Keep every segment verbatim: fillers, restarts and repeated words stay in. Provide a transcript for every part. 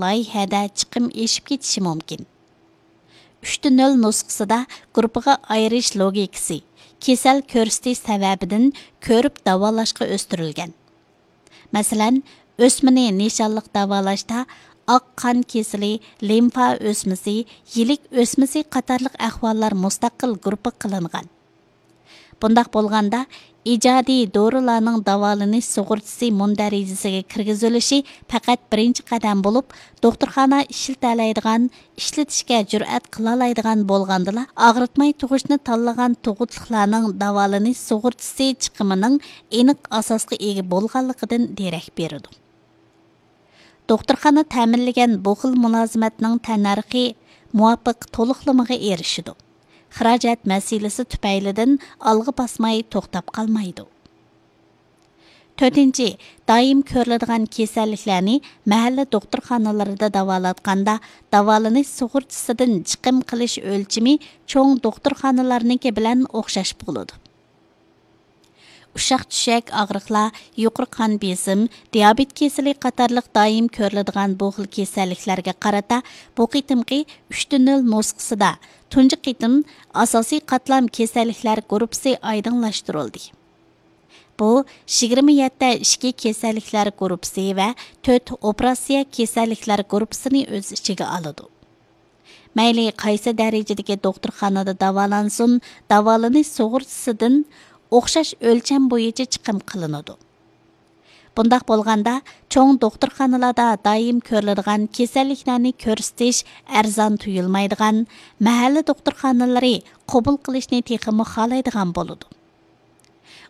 لايىھەدە چىقىم ئېشىپ كېتىشى مۇمكىن. ئۈچتە نۆل نۇسخىسىدا گۇرۇپپىغا ئايرىش لوگىكىسى، كېسەل كۆرسىتىش سەۋەبىدىن كۆرۈپ داۋالاشقا ئۆستۈرۈلگەن. مەسىلەن، ئۆسمىنى نىشانلىق داۋالاشتا ئاق قان كېسىلى، لىمفا ئۆسمىسى، يىلىك ئۆسمىسى قاتارلىق ئەھۋاللار مۇستەقىل گۇرۇپپا قىلىنغان. بۇنداق بولغاندا، ئىجادىي دورىلارنىڭ داۋالىنىش سۇغۇرتىسى مۇندەرىجىسىگە كىرگۈزۈلۈشى پەقەت بىرىنچى قەدەم بولۇپ، دوختۇرخانا ئىشلىتەلەيدىغان، ئىشلىتىشكە جۈرئەت قىلالايدىغان بولغاندىلا، ئاغرىتماي تۇغۇشنى تاللىغان تۇغۇتلۇقلارنىڭ داۋالىنىش سۇغۇرتىسى چىقىمىنىڭ ئېنىق ئاساسقا ئىگە بولغانلىقىدىن دېرەك بېرىدۇ. دوختۇرخانا تەمىنلىگەن بۇ خىل مۇلازىمەتنىڭ تەننەرخى مۇۋاپىق تولۇقلىمىغا ئېرىشىدۇ. خىراجەت مەسىلىسى تۈپەيلىدىن ئالغا باسماي توختاپ قالمايدۇ. تۆتىنچى، دائىم كۆرۈلىدىغان كېسەللىكلەرنى مەھەللە دوختۇرخانىلىرىدا داۋالاتقاندا، داۋالىنىش سۇغۇرتىسىدىن چىقىم قىلىش ئۆلچىمى چوڭ دوختۇرخانىلارنىڭكى بىلەن ئوخشاش بولىدۇ. ئۇششاق چۈشەك ئاغرىقلار، يۇقىرى قان بېسىم، دىيابېت كېسىلى قاتارلىق دائىم كۆرۈلىدىغان بۇ خىل كېسەللىكلەرگە قارىتا بۇ قېتىمقى ئۈچتە نۆل نۇسخىسىدا تۇنجى قېتىم ئاساسىي قاتلام كېسەللىكلەر گۇرۇپپىسى ئايدىڭلاشتۇرۇلدى. بۇ يىگىرمە يەتتە ئىچكى كېسەللىكلەر گۇرۇپپىسى ۋە تۆت ئوپېراتسىيە كېسەللىكلەر گۇرۇپپىسىنى ئۆز ئىچىگە ئالىدۇ. مەيلى قايسى دەرىجىدىكى دوختۇرخانىدا داۋالانسۇن، داۋالىنىش سۇغۇرتىسىدىن ئوخشاش ئۆلچەم بويىچە چىقىم قىلىنىدۇ. بۇنداق بولغاندا، چوڭ دوختۇرخانىلاردا دائىم كۆرۈلىدىغان كېسەللىكلەرنى كۆرسىتىش ئەرزان تۇيۇلمايدىغان، مەھەللە دوختۇرخانىلىرى قوبۇل قىلىشنى تېخىمۇ خالايدىغان بولىدۇ.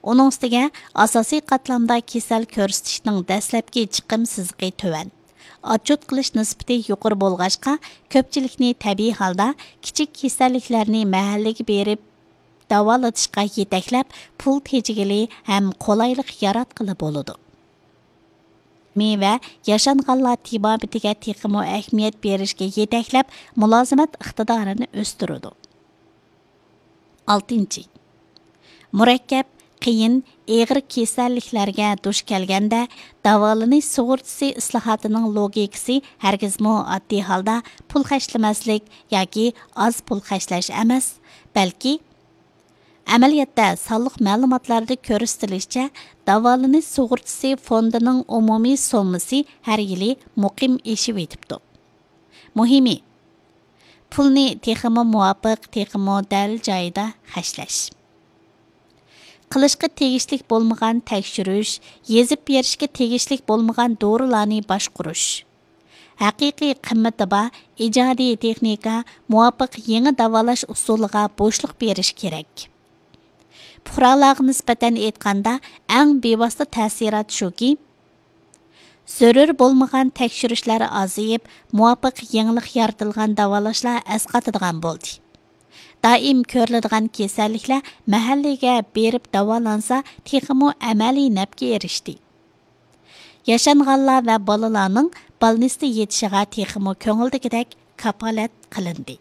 ئۇنىڭ ئۈستىگە ئاساسىي قاتلامدا كېسەل كۆرسىتىشنىڭ دەسلەپكى چىقىم سىزىقى تۆۋەن. ئاتچوت قىلىش نىسبىتى يۇقىرى بولغاچقا، كۆپچىلىكنى تەبىئىي ھالدا كىچىك كېسەللىكلەرنى مەھەللىگە بېرىپ داۋالىتىشقا يېتەكلەپ، پۇل تېجىگىلى ھەم قولايلىق ياراتقىلى بولىدۇ. مېۋە ياشانغانلار تېبابىتىگە تېخىمۇ ئەھمىيەت بېرىشكە يېتەكلەپ، مۇلازىمەت ئىقتىدارىنى ئۆستۈرىدۇ. ئالتىنچى، مۇرەككەپ، قىيىن، ئېغىر كېسەللىكلەرگە دۇچ كەلگەندە، داۋالىنىش سۇغۇرتىسى ئىسلاھاتىنىڭ لوگىكىسى ھەرگىزمۇ ئاددىي ھالدا پۇل خەجلىمەسلىك ياكى ئاز پۇل خەجلەش ئەمەس، بەلكى ئەمەلىيەتتە سانلىق مەلۇماتلاردا كۆرسىتىلىشىچە، داۋالىنىش سۇغۇرتىسى فوندىنىڭ ئومۇمىي سوممىسى ھەر يىلى مۇقىم ئېشىۋېتىپتۇ. مۇھىمى، پۇلنى تېخىمۇ مۇۋاپىق، تېخىمۇ دەل جايىدا خەجلەش. قىلىشقا تېگىشلىك بولمىغان تەكشۈرۈش، يېزىپ بېرىشكە تېگىشلىك بولمىغان دورىلارنى باشقۇرۇش. ھەقىقىي قىممىتى بار ئىجادىي تېخنىكا، مۇۋاپىق يېڭى داۋالاش ئۇسۇلىغا بوشلۇق بېرىش كېرەك. پۇقرالارغا نىسبەتەن ئېيتقاندا، ئەڭ بىۋاسىتە تەسىرات شۇكى، زۆرۈر بولمىغان تەكشۈرۈشلەر ئازىيىپ، مۇۋاپىق يېڭىلىق يارىتىلغان داۋالاشلار ئەسقاتىدىغان بولدى. دائىم كۆرۈلىدىغان كېسەللىكلەر مەھەللىگە بېرىپ داۋالانسا، تېخىمۇ ئەمەلىي نەپكە ئېرىشتى. ياشانغانلار ۋە بالىلارنىڭ بالنىستتا يېتىشىغا تېخىمۇ كۆڭۈلدىكىدەك كاپالەت قىلىندى.